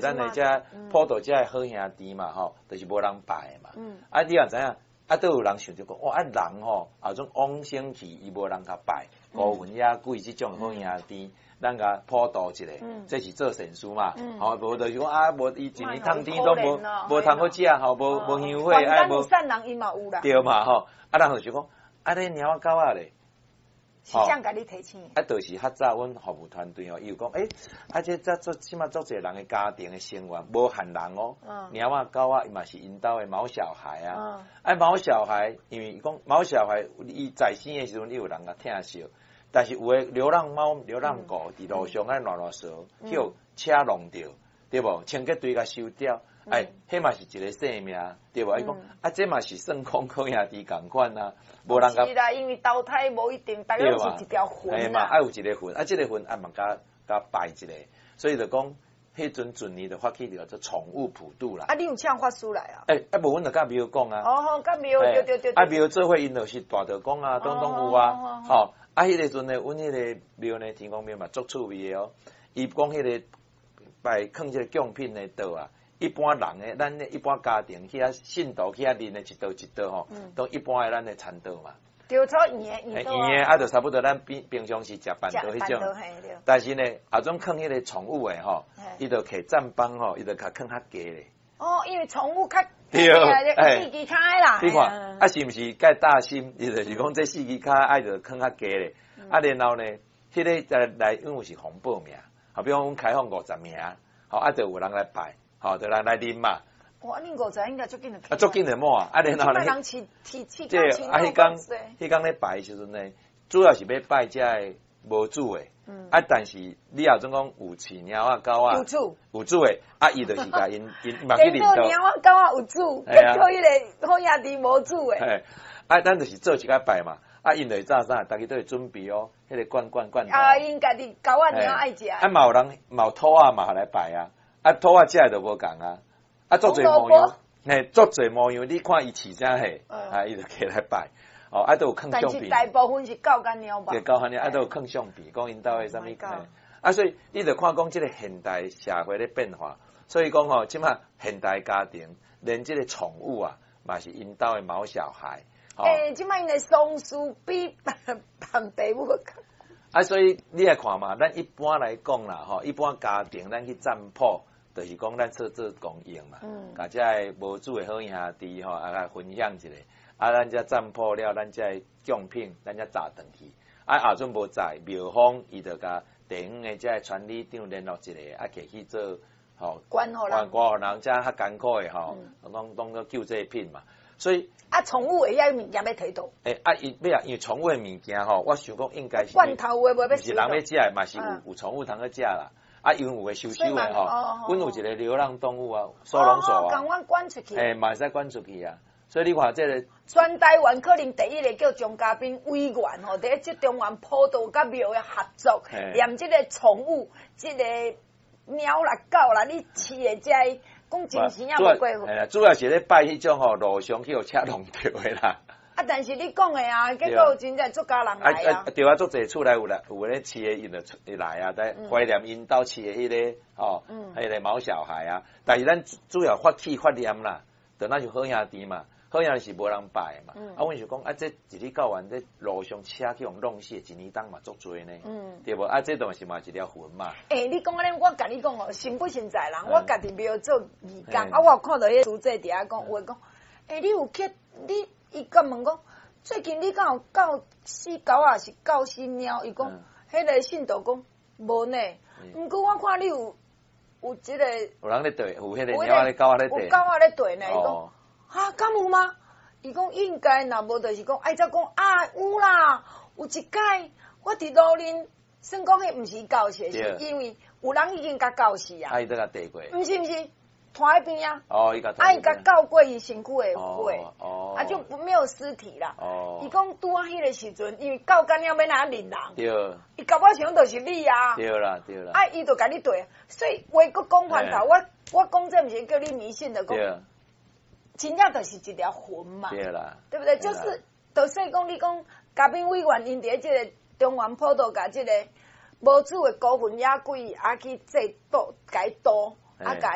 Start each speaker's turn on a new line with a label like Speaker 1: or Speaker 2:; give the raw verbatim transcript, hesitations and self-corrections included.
Speaker 1: 咱的遮普度遮的好兄弟嘛吼，就是無人拜的嘛。啊，你也知影，啊，都有人想著講，哇，啊人吼，啊種往生去，伊無人共拜，孤魂野鬼這種好兄弟，咱共普度一下，這是做善事嘛。吼，無就是講啊，無伊一年趁甜攏無無通好食吼，無無香火，啊無。
Speaker 2: 善人伊嘛有啦。
Speaker 1: 對嘛吼，啊人就是講，啊你貓仔狗仔咧。
Speaker 2: 是啥共你提醒？
Speaker 1: 啊，就是較早阮服務團隊吼，伊有講，欸，啊，這這做這馬足濟人的家庭的成員，無限人哦，貓仔狗仔伊嘛是𪜶兜的毛小孩啊。啊，毛小孩，因為伊講毛小孩，伊在生的時陣，伊有人共疼惜，但是有的流浪貓、流浪狗佇路上愛亂亂踅，予車弄著，對無？清潔隊共收掉，哎，彼嘛是一個生命，對無？伊講啊，這嘛是算講好兄弟仝款啊，無人共。
Speaker 2: 是啦，因為投胎無一定，大家攏是一條魂
Speaker 1: 嘛，愛有一個魂，啊，這個魂啊嘛共共拜一下，所以就講，彼陣陣年就發起叫做寵物普渡啦。
Speaker 2: 啊，你有請法師來啊？
Speaker 1: 欸，啊無，阮就佮廟講啊。
Speaker 2: 哦，佮廟，對對對。
Speaker 1: 啊，廟做伙𪜶就是大道公啊，攏總有啊，吼，啊，彼個時陣呢，阮彼個廟呢，天公廟嘛足趣味的哦。伊講彼個拜囥這個貢品的桌啊。一般人的，咱一般家庭去遐信徒去遐啉的一桌一桌吼，攏一般的咱的餐桌嘛。
Speaker 2: 對，粗圓的圓
Speaker 1: 圓的啊，就差不多咱平平常時食辦桌彼種。但是呢，啊種囥彼個寵物的吼，伊就摕棧板吼，伊就共囥較低咧。
Speaker 2: 哦，因為寵物較
Speaker 1: 對，
Speaker 2: 四支跤的啦。
Speaker 1: 你看，啊是毋是蓋大心？伊就是講這四支跤愛就囥較低咧。啊，然後呢，彼個再來，因為是紅報名，好比講阮開放五十名，好啊，就有人來拜。好，就人來啉嘛。
Speaker 2: 哇，恁五十應該足緊就。
Speaker 1: 啊，足緊就滿啊！啊，然後呢？
Speaker 2: 這
Speaker 1: 啊，彼工彼工咧拜的時陣呢，主要是欲拜這个無主的。嗯。啊，但是你若總講有飼貓仔狗仔，
Speaker 2: 有主
Speaker 1: 有主的，啊，伊就是共𪜶𪜶嘛去認到。
Speaker 2: 貓仔狗仔有主，結果彼個好兄弟無主的。
Speaker 1: 嘿，啊，咱就是做一個拜嘛。啊，𪜶就會早啥，逐家都會準備哦，彼個罐罐罐頭。
Speaker 2: 啊，𪜶家己狗仔貓愛食。
Speaker 1: 啊，嘛有人嘛有兔仔嘛來拜啊。啊，兔仔食的就無仝啊！啊，足濟模樣，嘿，足濟模樣，你看伊飼啥貨，啊，伊就摕來拜，哦，啊，都有囥相片。
Speaker 2: 但是大部分是狗佮貓吧？
Speaker 1: 對，狗佮貓，啊，都有囥相片，講𪜶兜的啥物，啊，所以你就看講這個現代社會咧變化，所以講吼，這馬現代家庭連這個寵物啊，嘛是𪜶兜的毛小孩。
Speaker 2: 欸，這馬𪜶的喪事比辦爸母較。
Speaker 1: 啊，所以你來看嘛，咱一般來講啦，吼，一般家庭咱去占卜。就是講咱做做公益嘛，共這个無主的好兄弟吼，啊來分享一下，啊，咱遮占卜了，咱遮的貢品，咱才載轉去。啊，後陣無載，廟方伊就共地方的遮个村里長聯絡一下，啊，摕去做吼，
Speaker 2: 捐予人，
Speaker 1: 捐予人，遮較艱苦的吼，攏當做救濟品嘛。所以
Speaker 2: 啊，寵物會遐物件欲提佗？
Speaker 1: 欸，啊，伊欲啊，因為寵物的物件吼，我想講應該是
Speaker 2: 罐頭有的無欲
Speaker 1: 是人欲食的，嘛是有有寵物通去食啦。啊，因為有的收收的吼，阮有一個流浪動物啊，收容所啊，
Speaker 2: 共阮捐出去，
Speaker 1: 欸，嘛會使捐出去啊。所以你看這個，
Speaker 2: 全台灣可能第一個叫張嘉賓委員吼，佇咧這中原普渡佮廟的合作，連這個寵物，這個貓啦狗啦，你飼的這个，講真時也無過
Speaker 1: 分。主要是咧拜彼種吼路上去予車弄著的啦。
Speaker 2: 啊！但是你講的啊，結果真正足家人來啊！
Speaker 1: 對啊，足濟厝內有來有咧飼的，𪜶就出來啊，在懷念𪜶兜飼的彼個吼，彼個毛小孩啊。但是咱主要發起發念啦，就若是好兄弟嘛，好兄弟是無人拜的嘛。啊，阮想講啊，這一日到晚這路上車去予弄死，一年當嘛足濟呢，對無？啊，這當是嘛一條魂嘛。
Speaker 2: 欸，你講按呢，我共你講哦，信不信在人？我家己廟做義工，啊，我有看到彼個師姐佇遐講，有的講，欸，你有去你？伊佮問講，最近你敢有救死狗啊？是救死貓？伊講，彼個信徒講無呢。毋過我看你有有這個，
Speaker 1: 有人咧綴，有彼個貓仔咧狗仔咧綴，
Speaker 2: 有狗仔咧綴呢。伊講，哈，敢有嗎？伊講應該，若無就是講，愛才講啊，有啦，有一擺我佇路面，算講彼毋是救死，是因為有人已經共救死啊。
Speaker 1: 啊，伊閣共綴過。
Speaker 2: 毋是毋是。拖彼邊啊！
Speaker 1: 哦，伊
Speaker 2: 啊，伊共救過伊身軀的血，
Speaker 1: 哦，
Speaker 2: 啊，就沒有屍體啦。
Speaker 1: 哦，
Speaker 2: 伊講拄仔彼個時陣，因為救干了欲按怎認人？
Speaker 1: 對。
Speaker 2: 伊搞不好想就是你啊。
Speaker 1: 對啦，對啦。
Speaker 2: 啊，伊就共你綴，所以話閣講翻頭，我我講這毋是叫你迷信的，講真正就是一條魂嘛。
Speaker 1: 對啦。
Speaker 2: 對不對？就是，就說講你講嘉賓委員𪜶佇這個中原普渡共這個無主的孤魂野鬼啊去祭度共伊度。啊，共